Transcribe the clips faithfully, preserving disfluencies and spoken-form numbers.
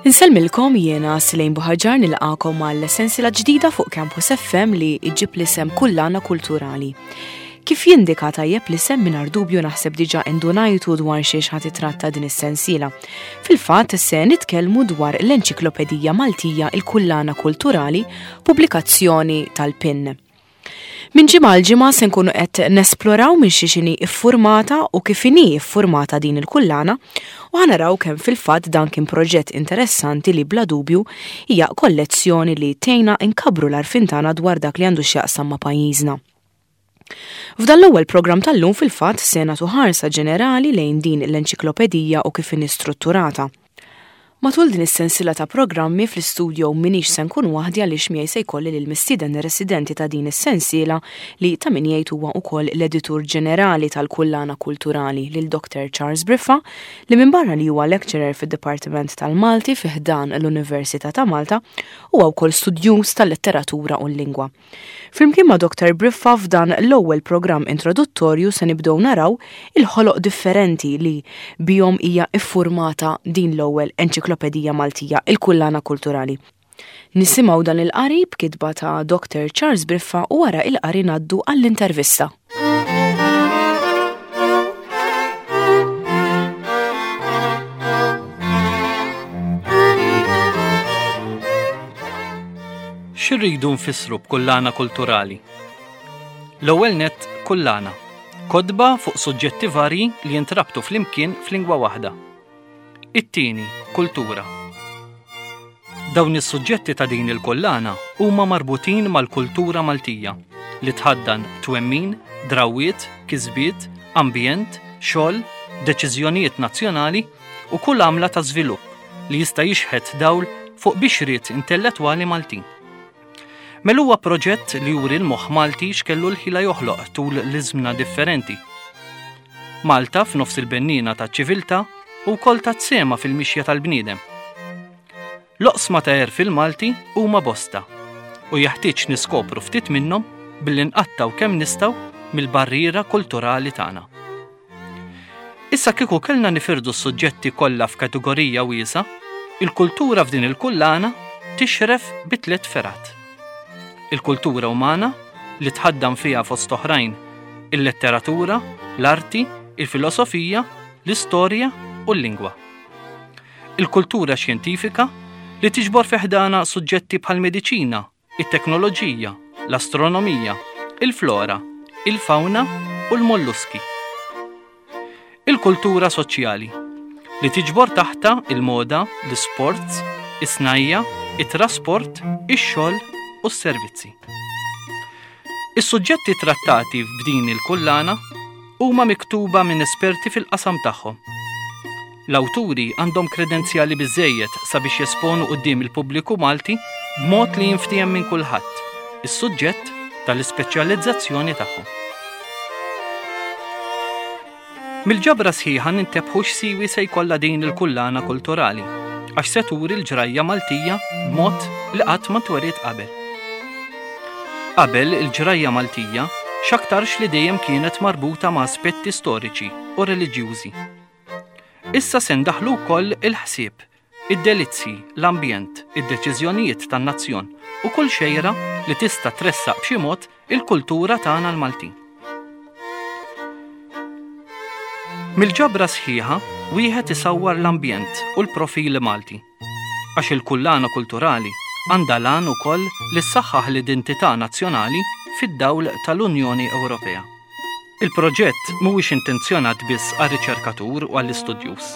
Insellmilkom, jiena Silejn Buħaġar, nilqagħkom għal sensiela ġdida fuq Campus F M li iġib l-isem Kullana Kulturali. Kif jindika tajjeb l-isem, mingħajr dubju naħseb diġa indunajtu dwar xiex ħa titratta din is-sensiela. Fil-fatt se nitkellmu dwar l-Enċiklopedija Maltija, il-Kullana Kulturali, pubblikazzjoni tal-PEN. Minn ġimgħa għal ġimgħa se nkunu qed nesploraw minn xiex inhi iffurmata u kif inhi iffurmata din il-kullana u ħa naraw kemm fil-fatt dan kien proġett interessanti li bla dubju hija kollezzjoni li tgħinna nkabbru l-għarfien tagħna dwar dak li għandu x'jaqsam ma' pajjiżna. F'dan l-ewwel programm tal-lum fil-fatt se nagħtu ħarsa ġenerali lejn din l-enċiklopedija u kif inhi strutturata. Matul din is-sensiela ta' programmi fl-istudio minix se nkun waħdi, għaliex miegħi se jkolli lil mistieden residenti ta' din is-sensiela li ta' min jgħid huwa wkoll l-editur ġenerali tal-Kullana Kulturali, lil Doctor Charles Briffa, li minbarra li huwa lecturer fid-Dipartiment tal-Malti fi ħdan l-Università ta' Malta, huwa wkoll studjuż tal-letteratura u l-lingwa. Flimkien ma' Doctor Briffa, f'dan l-ewwel programm introduttorju se nibdew naraw il-ħoloq differenti li bihom hija iffurmata din l-ewwel enċiklopedija Maltija, il-Kullana Kulturali. Nisimgħu dan il-qari b'kitba ta' Doctor Charles Briffa u wara il-qari ngħaddu għall-intervista. X'irridu nfissru b'kullana kulturali? L-ewwel nett, kullana. Kotba fuq suġġetti varji li jintrabtu flimkien f'lingwa waħda. It-tieni, kultura. Dawn is-suġġetti ta' din il-kullana huma marbutin mal-kultura Maltija li tħaddan twemmin, drawiet, kisbiet, ambjent, xogħol, deċiżjonijiet nazzjonali u kull għamla ta' żvilupp li jista' jixħet dawl fuq bixriet intellettwali Maltin. Mela huwa proġett li juri l-moħħ Malti x'kellu l-ħila joħloq tul l-iżmna differenti. Malta f'nofs il-bennina ta' ċiviltà u wkoll ta' sema fil-mixja tal-bniedem. L-oqsma ta' għerf il-Malti huma bosta u jeħtieġ niskopru ftit minnhom billi nqattaw kemm nistgħu mill-barriera kulturali tagħna. Issa, kieku kellna nifirdu s-suġġetti kollha f'kategorija wiesgħa, il-kultura f'din il-kullana tixref bi tliet fergħat. Il-kultura umana, li tħaddan fiha fost oħrajn il-letteratura, l-arti, il-filosofija, l-istorja u l-lingwa. Il-kultura xjentifika, li tiġbor fi ħdanha suġġetti bħal mediċina, it-teknoloġija, l-astronomija, il-flora, il-fauna u l-molluski. Il-kultura soċjali, li tiġbor taħtha il-moda, l-sports, is-snajja, it-trasport, ix-xogħol u s-servizzi. Is-suġġetti trattati f'din il-kullana huma miktuba minn esperti fil-qasam tagħhom. L-awturi għandhom kredenzjali biżejjed sabiex jesponu quddiem il-pubbliku Malti b'mod li jinftiehem minn kulħadd is-suġġett tal-ispeċjalizzazzjoni tagħhom. Mill-ġabra sħiħa nintebħu x'siwi se jkollha din il-kullana kulturali, għax se turi l-ġrajja Maltija b'mod li qatt ma tweriet qabel. Qabel, il-ġrajja Maltija x'aktarx li dejjem kienet marbuta ma' aspetti storiċi u reliġjużi. Issa se ndaħlu wkoll il-ħsieb, id-delizzi, l-ambjent, id-deċiżjonijiet tan-nazzjon u kull xejra li tista' tressaq b'xi mod il-kultura tagħna l-Maltin. Mill-ġabra sħiħa wieħed isawwar l-ambjent u l-profil Malti. Għax il-kullana kulturali għandha l-għan ukoll li ssaħħaħ l-identità nazzjonali fid-dawl tal-Unjoni Ewropea. Il-proġett mhuwiex intenzjonat biss għar-riċerkatur u għall-istudjuż.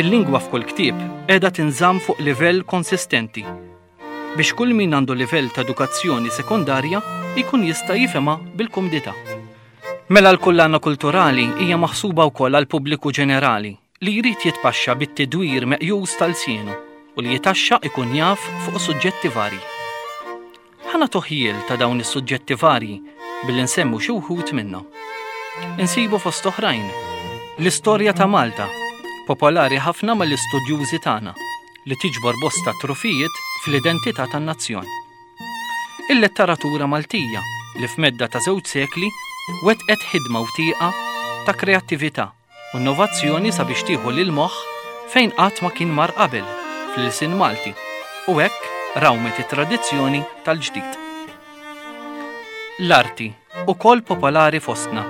Il-lingwa f'kull ktieb qiegħda tinżamm fuq livell konsistenti biex kull min għandu livell ta' edukazzjoni sekondarja jkun jista' jifhimha bil-kumdità. Mela l-kullana kulturali hija maħsuba wkoll għal pubbliku ġenerali li jrid jitpaxxa bit-tidwir meqjus tal-sienu u li jitaxxa ikun jaf fuq suġġetti varji. Ħa nagħtu ħjiel ta' dawn is-suġġetti varji billi nsemmu xi wħud minnhom. Insibu fost oħrajn l-istorja ta' Malta, popolari ħafna mal-istudjużi tagħna, li tiġbor bosta trufijiet fl-identità tan-nazzjon. Il-letteratura Maltija, li f'medda ta' żewġ sekli wetqet ħidma u tieqa ta' kreattività u innovazzjoni sabiex tieħu lil moħħ fejn qatt ma kien mar qabel fl-ilsien Malti u hekk rawmet it-tradizzjoni tal-ġdid. L-arti, ukoll popolari fostna,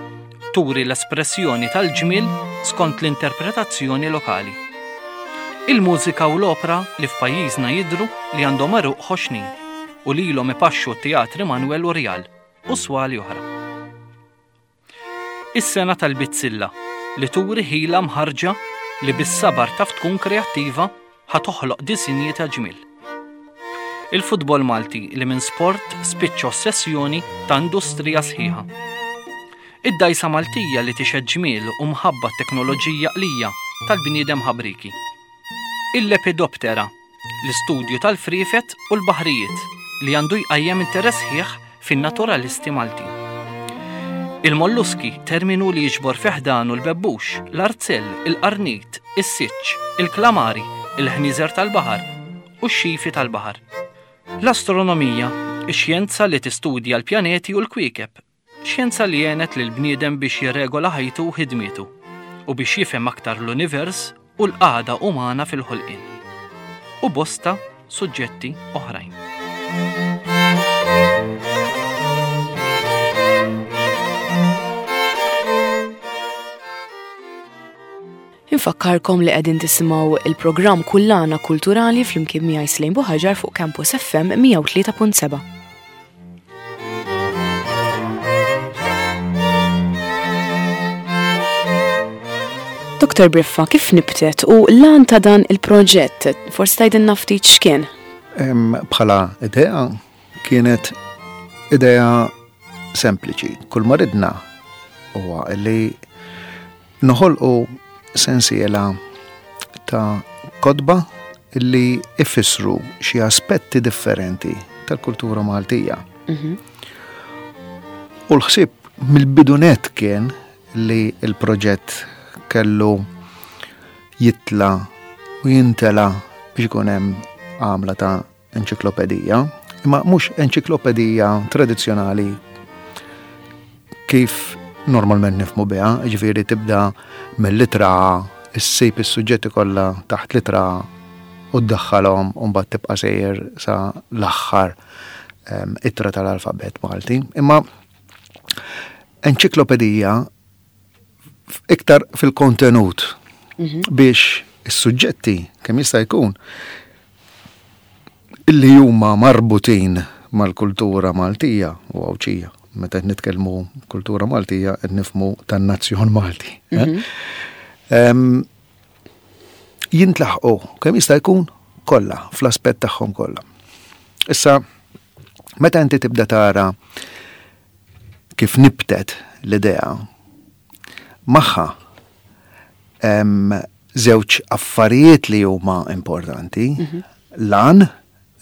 turi l-espressjoni tal-ġmiel skont l-interpretazzjoni lokali. Il-mużika u l-opra li f'pajjiżna jidhru li għandhom għeruq ħoxnin u lilhom ipaxxu t-teatri Manuel u Rjal u swali oħra. Is-sengħa tal-bizzilla li turi ħila mħarġa li bis-sabar taf tkun kreattiva ħa toħloq disinji ta' ġmiel. Il-futbol Malti li minn sport spiċċa ossessjoni ta' industrija sħiħa. Id-dgħajsa Maltija li tixhed ġmiel u mħabba teknoloġija qlija tal-bniedem ħabriki. Il-Lepidoptera, l-istudju tal-friefet u l-baħrijiet li għandu jqajjem interess ħieħ fin-naturalisti Maltin. Il-molluski, terminu li jiġbor fi ħdanu l-bebbux, l-arzell, il-qarnit, is-siċċ, il-klamari, il-ħnieżer tal-baħar u x-xifi tal-baħar. L-astronomija, ix-xjenza li tistudja l-pjaneti u l-kwiekeb, xjenza li għenet lil bniedem biex jirregola ħajtu u ħidmietu u biex jifhem aktar l-univers u l-qagħda umana fil-ħolqien. U bosta suġġetti oħrajn. Infakkarkom li qegħdin tisimgħu il-programm Kullana Kulturali flimkien miegħi Slejn Buħaġar fuq Campus F M mija u tlieta punt seba'. Doktor Briffa, kif nibtet u l-għan ta' dan il-proġett? Forsi tgħidilna ftit x'kien? Em, bħala idea kienet idea sempliċi. Kull ma ridna huwa li noħolqu sensiela ta' kotba li ifissru xi aspetti differenti tal-kultura Maltija. Mhm. U l-ħsieb mill-bidunet kien li l-proġett kellu jitla u jintela biex ikun hemm għamla ta' enċiklopedija, imma mhux enċiklopedija tradizzjonali kif normalment nifhmu biha, jiġifieri tibda mill-litra A, issib is-suġġetti kollha taħt litra A u ddaħħalhom u mbagħad tibqa' sejjer sa l-aħħar, ehm, ittra tal-alfabet Malti. Imma enċiklopedija iktar fil-kontenut Mhm. biex is-suġġetti kemm jista' jkun illi huma marbutin mal-kultura Maltija u Għawdxija. Meta qed nitkellmu kultura Maltija qed nifhmu tan-nazzjon Malti, eh? Mhm. Em, jintlaħqu kemm jista' jkun kollha fl-aspett tagħhom kollha. Issa meta inti tibda tara kif nibtet l-idea magħha hemm żewġ affarijiet li huma importanti. Mhm. Lan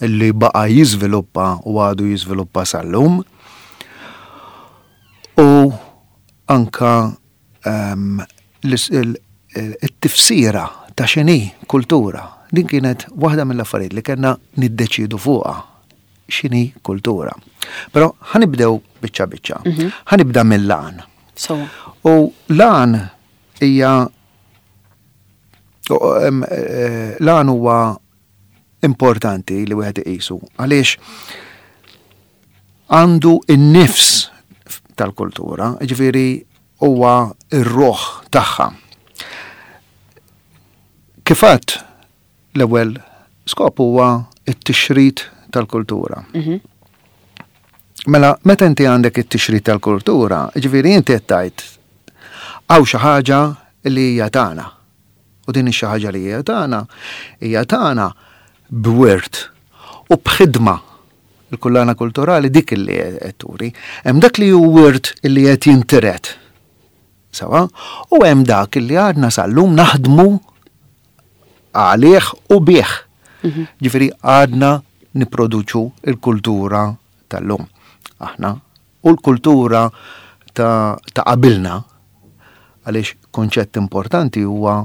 li baqa' jiżviluppa u għadu jiżviluppa sal-lum u anka, ehm, l-is-, il-, it-tifsira ta' x'inhi kultura. Din kienet waħda mill-affarijiet li kellna niddeċidu fuqha x'inhi kultura. Però ħanibdew biċċa biċċa. Mhm. Ħanibda mill-lan. So. U lan hija u, em, eh, lan huwa importanti li wieħed iqisu għaliex għandu n-nifs tal-kultura, jiġifieri huwa r-ruħ tagħha. Kif għedt, l-ewwel skop huwa t-tixrid tal-kultura. Mhm. Mela, meta inti għandek it-tixrid tal-kultura, jiġifieri inti qed tgħid hawn xi ħaġa li hija tagħna. U din ix-xi ħaġa li hija tagħna hija tagħna b'wirt u b'ħidma. Il-kullana kulturali dik li qed turi. Hemm dak li hu wirt li qed jintiret. Sawa? U hemm dak li għadna sal-lum naħdmu għalih u bih. Mhm. Ġifieri għadna nipproduċu il-kultura tal-lum. Aħna u l-kultura ta', ta' qabilna, għaliex konċett importanti huwa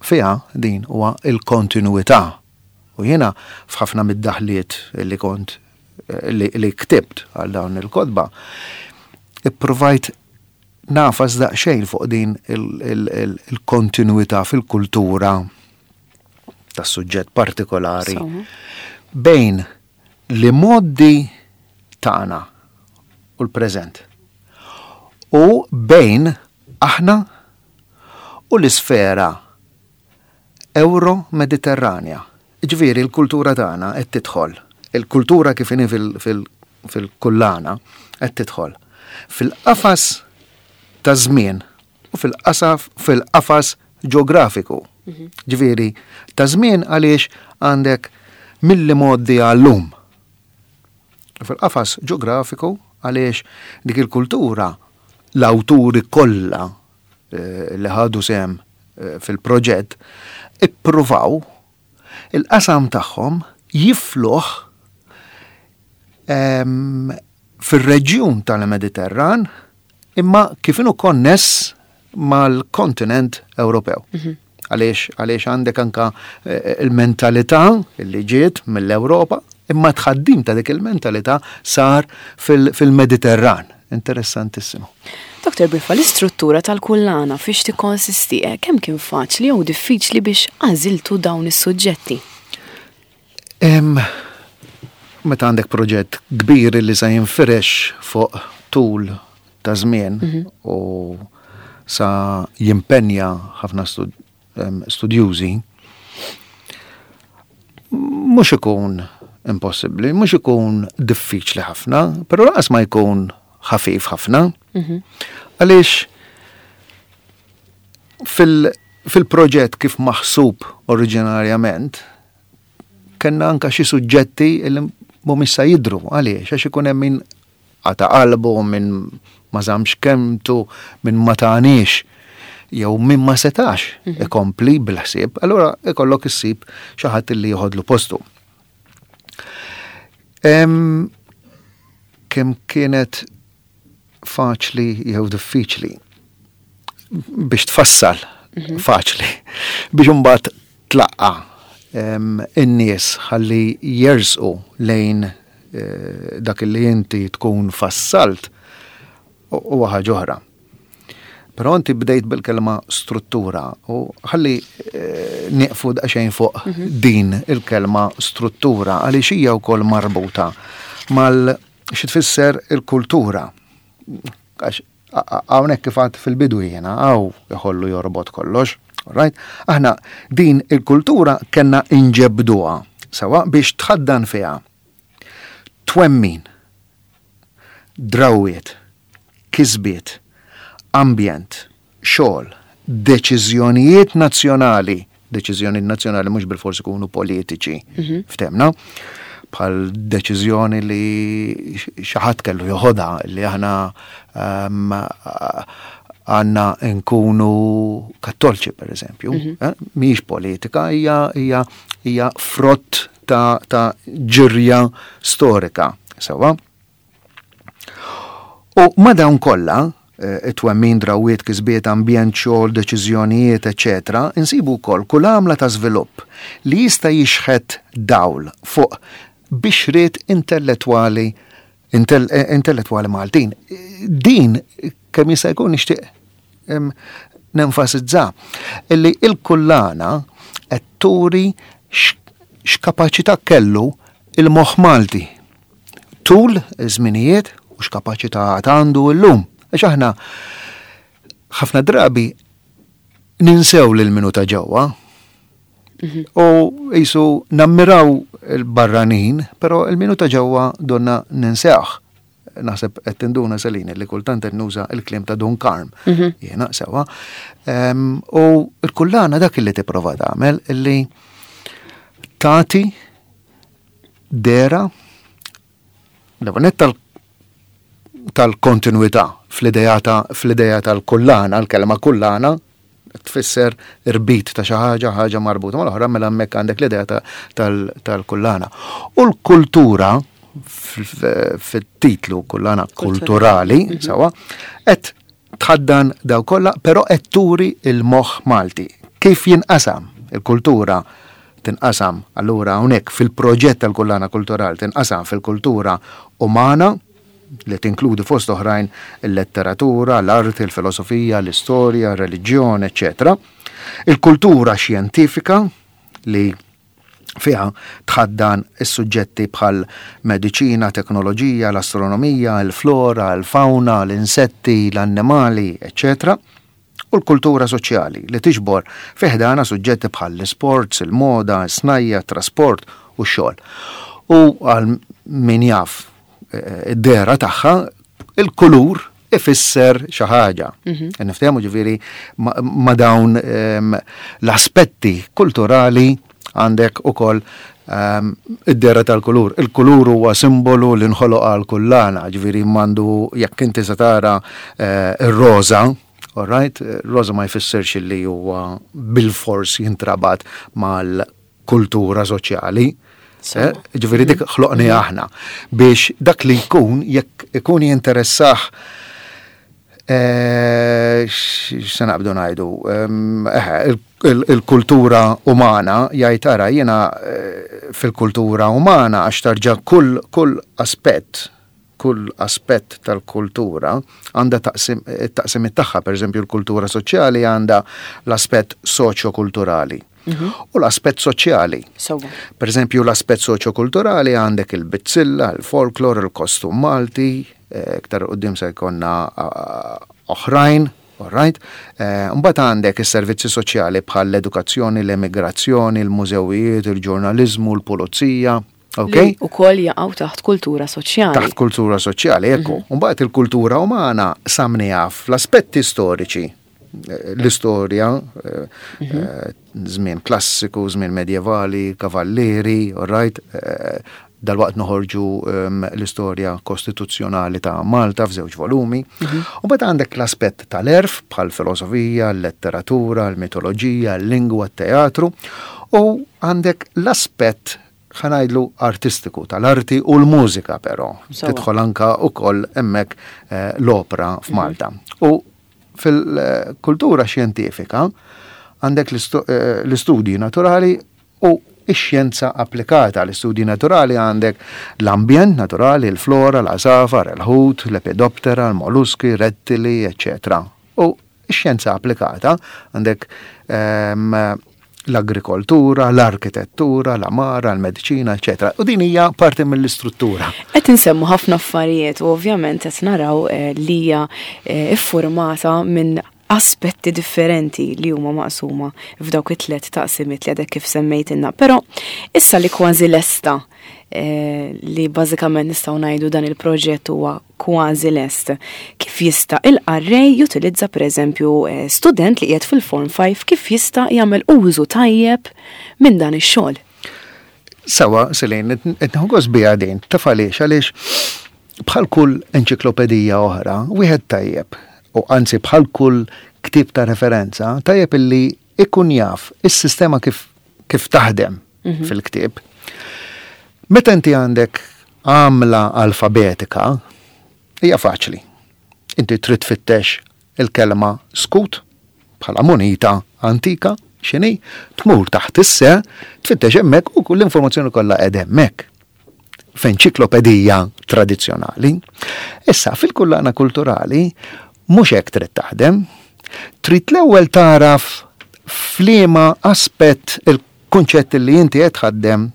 fiha din huwa il-kontinuità. U jiena f'ħafna mid-daħliet li kont li, li ktibt għal dawn il-kotba, ippruvajt nafas daqsxejn fuq din il-, il-, il-, il-kontinuità fil-kultura fil-każ ta' suġġett partikolari, bejn l-imgħoddi tagħna u l-preżent. U bejn aħna u l-isfera Euro-Mediterranja. Ġifieri l-kultura tagħna qed tidħol. Il-kultura kif inhi fil-kullana qed tidħol fil-qafas ta' żmien u fil-qasaf fil-qafas ġeografiku. Ġifieri ta' żmien għaliex għandek mill-imgħoddi għal-lum. Fil-qafas ġeografiku għaliex dik il-kultura l-awturi kollha eh, li ħadu sehem eh, fil-proġett ippruvaw il-qasam tagħhom jifluh ehm, fir-reġjun tal-Mediterran imma kif inhu konness mal-kontinent Ewropew. Mhm. Għaliex għaliex għandek anka eh, il-mentalità li ġiet mill-Ewropa, imma tħaddim ta' dik il-mentalità sar fil-Mediterran. Interessantissimo. Doktor Briffa, l-istruttura tal-kullana fiex tikkonsisti, eh, kemm kien faċli jew diffiċli biex għażiltu dawn is-suġġetti? Meta għandek proġett kbir li sa jinfirex fuq tul ta' żmien mhm. u sa jimpenja ħafna studjużi, mhux ikun impossibbli, mhux ikun diffiċli ħafna, però lanqas ma jkun ħafif ħafna. Mhm. Għaliex fil-proġett kif maħsub oriġinarjament, kellna anka xi suġġetti li mhumiex sa jidru. Għaliex? Għax ikun hemm min qata' qalbu, min ma żammx kelmtu, min ma taniex, jew min ma setax mhm. ikompli bil-ħsieb, allura ikollok issib xi ħadd li joħodlu postu. Kemm kienet faċli jew diffiċli biex tfassal, mhm. faċli, biex imbagħad tlaqqa in-nies ħalli jersqu lejn eh, dak li inti tkun fassalt huwa ħaġa oħra. Però inti bdejt bil-kelma struttura u ħalli eh, nieqfu daqsxejn fuq mhm. din il-kelma struttura għaliex hija wkoll marbuta mal xi tfisser il-kultura. Għax hawnhekk kif għedt fil-bidu jiena hawn iħollu jorbot kollox. Right? Aħna din il-kultura kellna inġebduha sewa biex tħaddan fiha twemmin, drawiet, kisbiet, ambjent, xogħol, deċiżjonijiet nazzjonali, deċiżjonijiet nazzjonali mhux bilfors ikunu politiċi, mhm. ftemna, bħal deċiżjoni li xi ħadd kellu joħodha li aħna ehm, għandna nkunu kattolċi per eżempju, mm -hmm. mhijiex politika, hija hija hija frott ta', ta ġirja storika, sewa. U ma dawn kollha, eh, it-twemmin, drawiet, kisbiet, ambjent, xogħol, deċiżjonijiet, eċetera, insibu wkoll kull għamla ta' żvilupp li jista' jixħet dawl fuq bixriet intellettwali eh, intellettwali Maltin. Din kemm jista' jkun nixtieq nenfasizza illi il-kullana qed turi x'kapaċità kellu il-moħħ Malti tul iż-żminijiet u x'kapaċità għandu llum. Għax aħna ħafna drabi ninsew lil minu ta' ġewwa. Mhm. U jisu nammiraw il-barranin, però il-minu ta' ġewwa donna ninsewh. Naħseb qed tinduna Selini li kultant qed nuża il-kliem ta' Dun Karm. Mhm. Jiena sewa. U l-kullana dak li tipprova tagħmel illi tagħti dera l-ewwel tal-kontinuità fl-idea fl-idea tal-kullana, l-kelma kullana tfisser irbit ta' xi ħaġa, ħaġa marbuta mal-oħra, mela hemmhekk għandek l-idea tal-kullana. U l-kultura fit-titlu kullana kulturali, mhm. sewa, qed tħaddan daw kollha, però qed turi il-moħħ Malti. Kif jinqasam il-kultura tinqasam allura hawnhekk fil-proġett tal-kullana kulturali tinqasam fil-kultura umana li tinkludi fost oħrajn il-letteratura, l-arti, il-filosofija, l-istorja, ir-reliġjon, eċċetera. Il-kultura xjentifika li Fiha tħaddan is-suġġetti bħal mediċina, teknoloġija, l-astronomija, il-flora, il-fauna, l-insetti, l-annimali, eċċetera. U l-kultura soċjali li tiġbor fi ħdanha suġġetti bħal l-sports, il-moda, is-snajja, trasport u x-xogħol. U għal min jaf eh, id-dehra tagħha, il-kulur ifisser xi ħaġa. Mhm. Niftehmu, ġifieri ma dawn ehm, l-aspetti kulturali għandek ukoll um, id-dehra tal-kulur. Il-kulur huwa simbolu li nħoloq għal kullana, ġifieri mandu jekk inti se tara uh, ir-roża, all right, roża ma jfissirx li huwa bil-fors jintrabat mal-kultura soċjali. Eh, ġifieri dik ħloqni aħna biex dak li jkun, jekk ikun jinteressah, eh, x'se naqbdu ngħidu, il-kultura umana, jgħid ara jiena eh, fil-kultura umana, għax tarġa kull kull aspett kull aspett tal-kultura għandha taqsim tagħha. Per eżempju, l-kultura soċjali għandha l-aspett soċjokulturali mhm. u l-aspett soċjali. Per eżempju, l-aspett soċjokulturali għandek il-bizzilla, il-folklor, il-kostum Malti, eh, iktar quddiem se jkollna oħrajn, all right? Eh, mbagħad għandek is-servizzi soċjali bħal l-edukazzjoni, l-emigrazzjoni, il-mużewijiet, il-ġurnaliżmu, l-pulizija. Ok? U koll jaqgħu taħt kultura soċjali. Taħt kultura soċjali, ekku. Mhm. Mbagħad il-kultura umana samniha fl-aspetti storiċi, eh, l-istorja, eh, mhm. eh, żmien klassiku, żmien medjevali, kavallieri, all right, dalwaqt noħorġu um, l-istorja kostituzzjonali ta' Malta f'żewġ volumi. Mhm. U mbagħad għandek l-aspett tal-għerf bħal filosofija, l-letteratura, l-mitoloġija, l-lingwa, t-teatru, u għandek l-aspett, ħa ngħidlu, artistiku tal-arti u l-mużika, però tidħol anka ukoll hemmhekk eh, l-opera f'Malta. Mhm. U fil-kultura xjentifika għandek eh, l-istudji naturali u ix-xjenza applikata. L-istudji naturali għandek l-ambjent naturali, il-flora, l-għasafar, il-ħut, l-lepidoptera, l-molluski, rettili, eccetera. U ix-xjenza applikata għandek ehm, l-agrikoltura, l-arkitettura, l-għamara, l-mediċina, eccetera. U din hija parti mill-istruttura. Qed insemmu ħafna affarijiet u ovvjament qed naraw eh, li hija eh, iffurmata minn aspetti differenti li huma maqsuma f'dawk it-tliet taqsimiet li għadek kif semmejtilna. Però issa li kważi lesta, eh, li bażikament nistgħu ngħidu dan il-proġett huwa kważi lest, kif jista' il-qarrej jutilizza, pereżempju eh, student li qiegħed fil-Form five, kif jista' jagħmel użu tajjeb minn dan ix-xogħol? Sawa, Selin, qed nieħu biha din, taf għaliex? Għaliex bħal kull enċiklopedija oħra, wieħed tajjeb, u anzi bħal kull ktieb ta' referenza, tajjeb illi ikun jaf is-sistema kif, kif taħdem mhm. fil-ktieb. Meta inti għandek għamla alfabetika, hija faċli. Inti trid tfittex il-kelma skut bħala munita antika, x'inhi, tmur taħt is-se, tfittex hemmhekk u kull informazzjoni kollha qed hemmhekk f'enċiklopedija tradizzjonali. Issa fil-kullana kulturali mhux hekk trid taħdem. Trid l-ewwel taraf f'liema aspett il-kunċett li inti qed tħaddem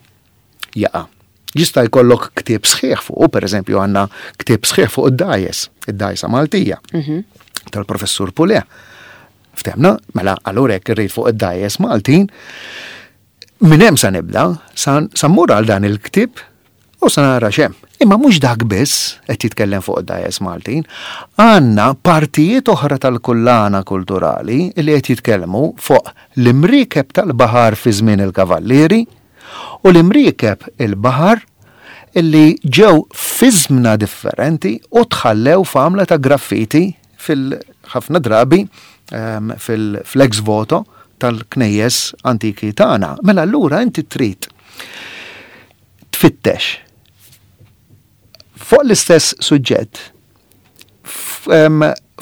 jaqa'. Jista' jkollok ktieb sħiħ fuq, per eżempju għandna ktieb sħiħ fuq id-dgħajjes, id-dgħajsa Maltija, mhm. tal-professur Pulè. Ftemna, mela allura jekk irrid fuq id-dgħajjes Maltin, minn hemm sa nibda, sa mmur għal dan il-ktieb u sa nara x'hemm. Imma mhux dak biss qed jitkellem fuq id-dgħajjes Maltin, għandna partijiet oħra tal-kullana kulturali li qed jitkellmu fuq l-imriekeb tal-baħar fi żmien il-Kavallieri u l-imriekeb il-baħar illi ġew fi żmna differenti u tħallew f'għamla ta' graffiti fil-ħafna drabi ehm, fil-ex voto tal-knejjes antiki tagħna. Mela allura inti trid tfittex fuq l-istess suġġett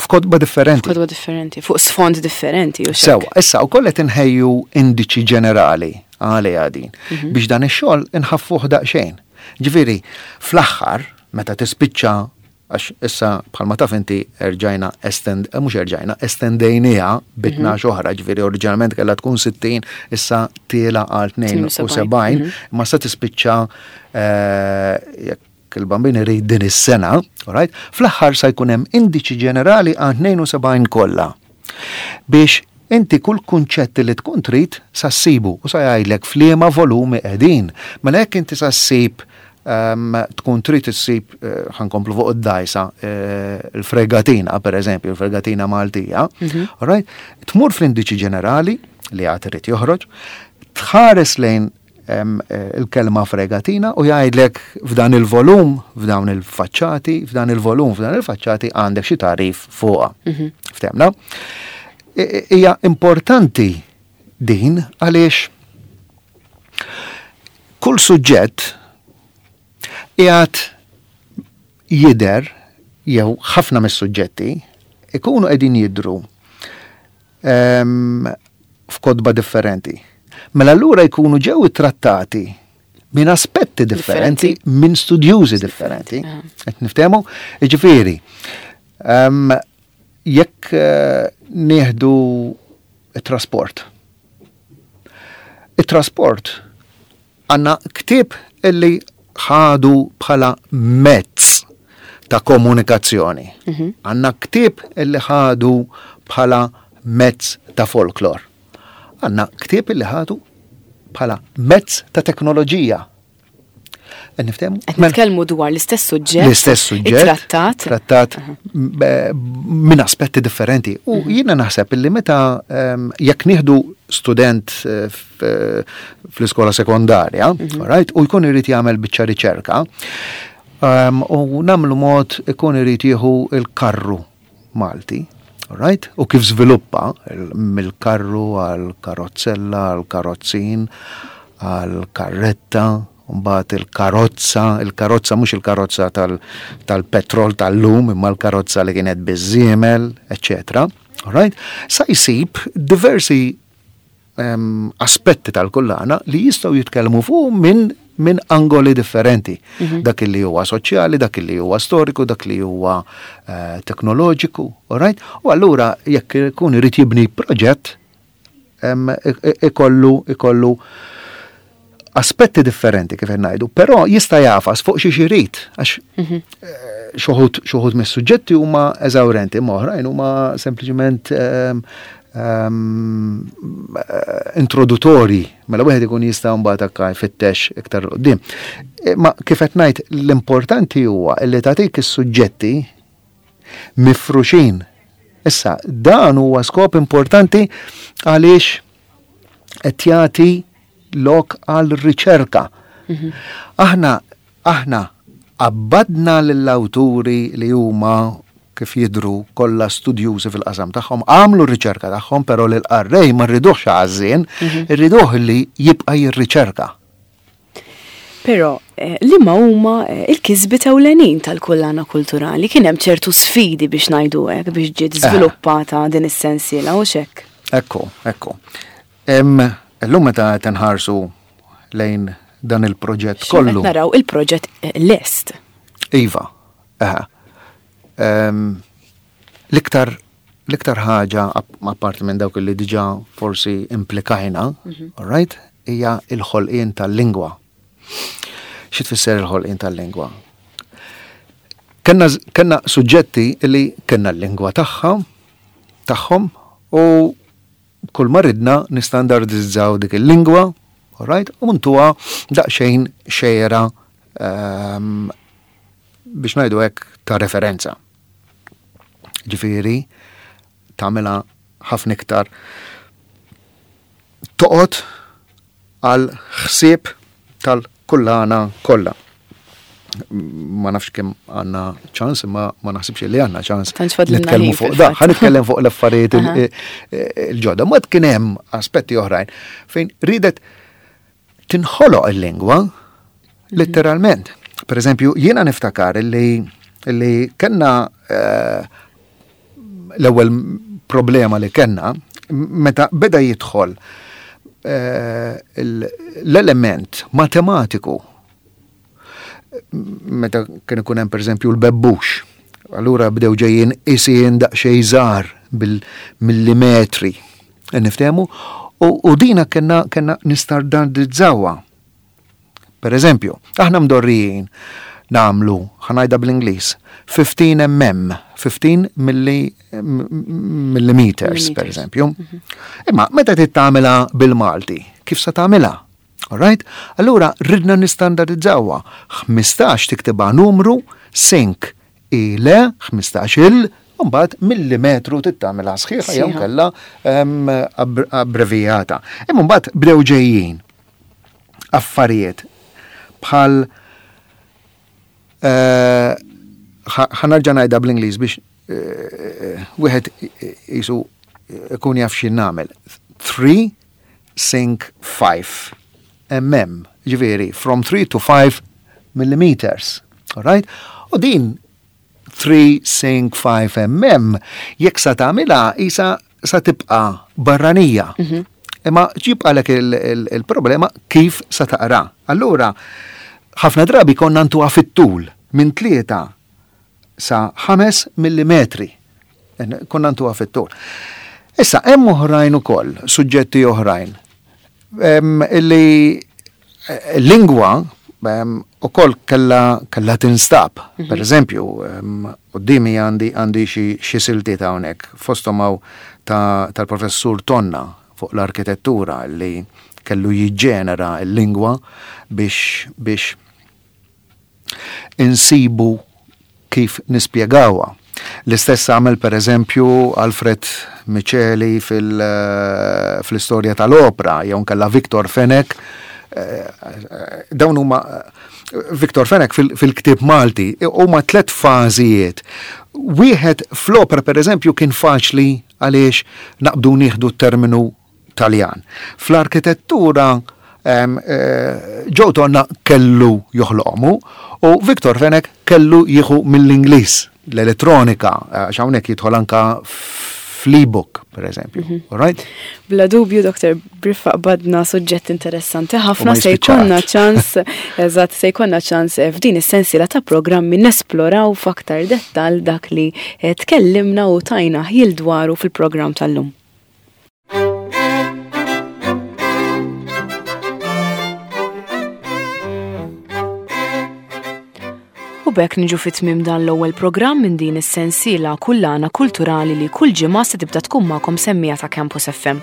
f'kotba differenti. F'kotba differenti, fuq sfond differenti. Sewa, issa u kollet inħejju indiċi ġenerali għalija din mhm. biex dan ix-xogħol inħaffuh daqsxejn. Ġifieri, fl-aħħar, meta tispiċċa Għax issa bħalma taf inti erġajna estend, eh, mhux erġajna, estendejnieha bi tnax oħra, ġifieri oriġinalment kellha tkun sittin, issa tiela għal tnejn u sebgħin, ma sa tispiċċa eh, jekk il-Bambin irid din is-sena, alright? Fl-aħħar sa jkun hemm indiċi ġenerali għal tnejn u sebgħin kollha. Biex inti kull kunċett li tkun trid sa ssibu u sa jgħidlek f'liema volumi qegħdin. Mela jekk inti sa ssib um, tkun trid issib, uh, ħa nkomplu fuq id-dajsa, uh, il-fregatina per eżempju, il-fregatina Maltija, alright? Tmur fl-indiċi ġenerali li għad irid joħroġ, tħares lejn em, eh, il-kelma fregatina u jgħidlek f'dan il-volum, f'dawn il-faċċati, f'dan il-volum, f'dan il-faċċati għandek xi tagħrif fuqha. Ftehmna? I- i- Hija importanti din għaliex kull suġġett qiegħed jidher, jew ħafna mis-suġġetti ikunu qegħdin jidru em, f'kotba differenti. Mela allura jkunu ġew trattati minn aspetti differenti, minn studjużi differenti. Qed niftehmu? Jiġifieri, em, jekk eh, nieħdu it-trasport. It-trasport għandna ktieb illi ħadu bħala mezz ta' komunikazzjoni. Għandna ktieb illi ħadu bħala mezz ta' folklor. Għandna ktieb illi ħadu bħala mezz ta' teknoloġija. Qed niftehmu? Qed nitkellmu dwar l-istess suġġett. L-istess suġġett. Trattat. Trattat b- minn aspetti differenti. U jiena naħseb illi meta em, jekk nieħdu student eh, f- fl-iskola sekondarja, right, u jkun irid jagħmel biċċa riċerka, em, u nagħmlu mod ikun irid jieħu il-karru Malti, right? U kif żviluppa il- mill-karru għal karozzella, għal karozzin, għal karretta, mbagħad il-karozza, il-karozza mhux il-karozza tal- tal-petrol tal-lum, imma l-karozza li kienet biż-żiemel, eccetera. Alright? Sa jsib diversi em, aspetti tal-kullana li jistgħu jitkellmu fuq minn minn angoli differenti. Dak li huwa soċjali, dak li huwa storiku, dak li huwa eh, teknoloġiku, alright? U allura jekk ikun irid jibni proġett, em, i- i- ikollu ikollu aspetti differenti kif qed ngħidu, però jista' jagħfas fuq xi irid, għax eh, xi wħud xi wħud mis-suġġetti huma eżawrenti, imma oħrajn huma sempliċement ehm, ehm, eh, introduttori, mela wieħed ikun jista' mbagħad akka jfittex iktar quddiem. Eh, Ma kif qed ngħid, l-importanti huwa li tagħtik is-suġġetti mifruxin. Issa, dan huwa skop importanti għaliex qed jagħti lok għal riċerka. Aħna aħna qabbadna lill-awturi li huma kif jidru kollha studjużi fil-qasam tagħhom, għamlu r-riċerka tagħhom, però lil qarrej ma rriduhx għażżien, irriduh li jibqa' jirriċerka. Però eh, liema huma eh, il-kisbiet ewlenin tal-kullana kulturali? Kien hemm ċertu sfidi, biex ngħidu hekk, biex ġiet żviluppata din is-sensiela u xek. Ekku, ekku. Em, Illum meta qed nħarsu lejn dan il-proġett kollu. Qed naraw il-proġett eh, lest. Iva, eħe. Em, L-iktar l-iktar ħaġa, ap- apparti minn dawk li diġà forsi implikajna, all right, hija il-ħolqien tal-lingwa. Xi tfisser il-ħolqien tal-lingwa? Kenna, kenna suġġetti li kenna l-lingwa tagħha, tagħhom, u kull ma ridna nistandardizzaw dik il-lingwa, all right, u ntuha daqsxejn xejra um, biex ngħidu hekk ta' referenza. Ġifieri, tagħmilha ħafna iktar toqgħod għal ħsieb tal-kullana kollha. Ma nafx kemm għandna ċans, imma ma naħsibx li għandna ċans Tantx fadlilna nitkellmu ħin fuq da. fil-fatt. Ħa nitkellem fuq l-affarijiet il- Aha. il-ġodda. Ma kien hemm aspetti oħrajn fejn ridet tinħoloq il-lingwa letteralment. Per eżempju, jiena niftakar li li kellna eh, l-ewwel problema li kellna meta beda jidħol eh, l- l-element matematiku, meta kien ikun hemm, pereżempju, l-bebbux. Allura bdew ġejjin isien daqsxejn żgħar bil-millimetri. Niftehmu? U, u dina kellna kellna nistandardizzawa. Per eżempju, aħna mdorrijin nagħmlu, ħa ngħidha bl-Ingliż, fifteen millimeters, fifteen milli, millimeters, per eżempju. Imma meta trid tagħmilha bil-Malti, kif sa tagħmilha? Alright? Allura ridna nistandardizzawa. ħmistax tiktibha numru, sink ile, ħmistax il, mbagħad millimetru tittamilha sħiħa jew kellha abbrevijata. Imma mbagħad bdew ġejjin affarijiet bħal eh, ħa nerġa' ngħidha bl-Ingliż biex eh, wieħed jisu ikun jaf x'in nagħmel. three sink five millimeters, ġifieri from three to five millimeters. Alright? U din three sink five millimeters jekk sa tagħmilha isa sa tibqa' barranija. Mhm. Imma ġibqalek il-problema kif sa taqra. Allura, ħafna drabi konna ntuha fit-tul minn tlieta sa ħames millimetri. Konna ntuha fit-tul. Issa, hemm oħrajn ukoll, suġġetti oħrajn, illi eh, lingwa ukoll kella kella tinstab. Mhm. Per eżempju, qudiemi għandi għandi xi siltiet hawnhekk, fosthom tal-professur Tonna fuq l-arkitettura li kellu jiġġenera l-lingwa biex biex insibu kif nispjegawha. L-istess għamel per eżempju Alfred Miceli fil-istorja tal-opra, jew kella Victor Fenech, eh, dawn huma Victor Fenech fil-ktib Malti, huma tlet fażijiet. Wieħed fl-opra per eżempju kien faċli għaliex naqbdu nieħdu terminu Taljan. Fl-arkitettura eh, Joe Tonna kellu joħloqmu u Victor Fenech kellu jieħu mill-Ingliż l-elettronika, għax hawnhekk jidħol anka fl-ebook, per eżempju. Mhm. All right? Bla dubju, Doktor Briffa, badna suġġett interessanti ħafna, se jkollna ċans, eżatt, se jkollna ċans eh, f'din is-sensiela ta' programmi nesploraw f'aktar dettal dak li eh, tkellimna u tajna ħjil dwaru fil-programm tal-lum. U b'hekk niġu fi tmiem dan l-ewwel programm minn din is-sensiela Kullana Kulturali li kull ġimgħa se tibda tkun magħkom semmija ta' Campus F M.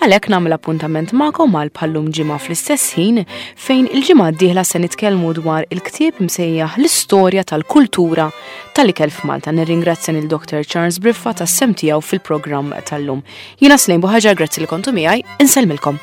Għalhekk nagħmel appuntament magħkom għal bħallum ġimgħa fl-istess ħin, fejn il-ġimgħa d-dieħla se nitkellmu dwar il-ktieb msejjaħ L-Istorja tal-Kultura tal-Ikel f'Malta. Nirringrazzja lil Doctor Charles Briffa tas-sehem tiegħu fil-programm tal-lum. Jiena Slejn Buħaġar, grazzi li kontu miegħi, insellmilkom.